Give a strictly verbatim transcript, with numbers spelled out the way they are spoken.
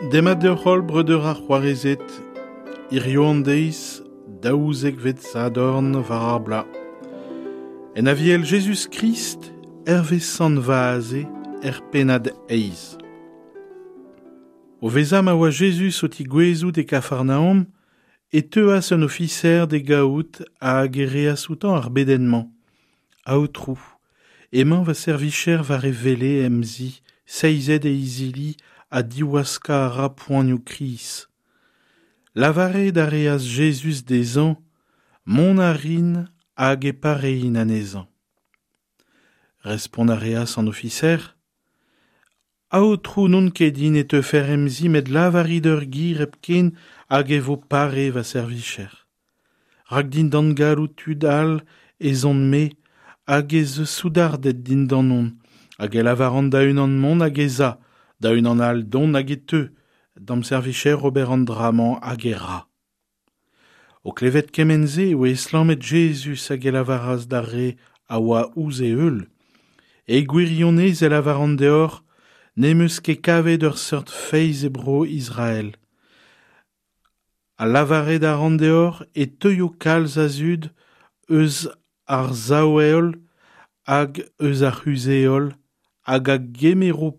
Demat deoc'h holl breudeur ha c'hoarezed, hiziv an deiz daouzekvet Sadorn war ar bloaz. En Aviel Jezuz-Krist, hervez Sant Vaze, er pennad eizh. O vezañ ma oa Jezuz o tigouezout e Kafarnaom, e teuas un ofiser d'e gaout hag e reas outañ ar bedenn-mañ. Aotrou, emañ va servijer war e wele em zi, seizet e izili ha diwaskañ a ra poanioù kriz. Lavaret a reas Jezuz dezhañ, mont a rin hag e parein anezhañ. Respont a reas an ofiser, Aotrou n'on ket din e teufec'h em zi met lavarit ur ger hepken hag e vo pare va servijer. Rak dindan galloud tud all ez on-me hag ez eus soudarded dindanon, hag e lavaran da unan mont hag ez a, da unan all dont hag e teu, d'am servijer ober an dra-mañ hag e ra. O klevet kement-se e oa estlammet Jezuz hag e lavaras d'ar re a oa ouzh e heul. E gwirionez e lavaran deoc'h, n'em eus ket kavet ur seurt feiz e bro Israel. Ha lavaret a ran deoc'h e teuio kalz a zud eus ar sav-heol hag eus ar c'huzh-heol hag a gemero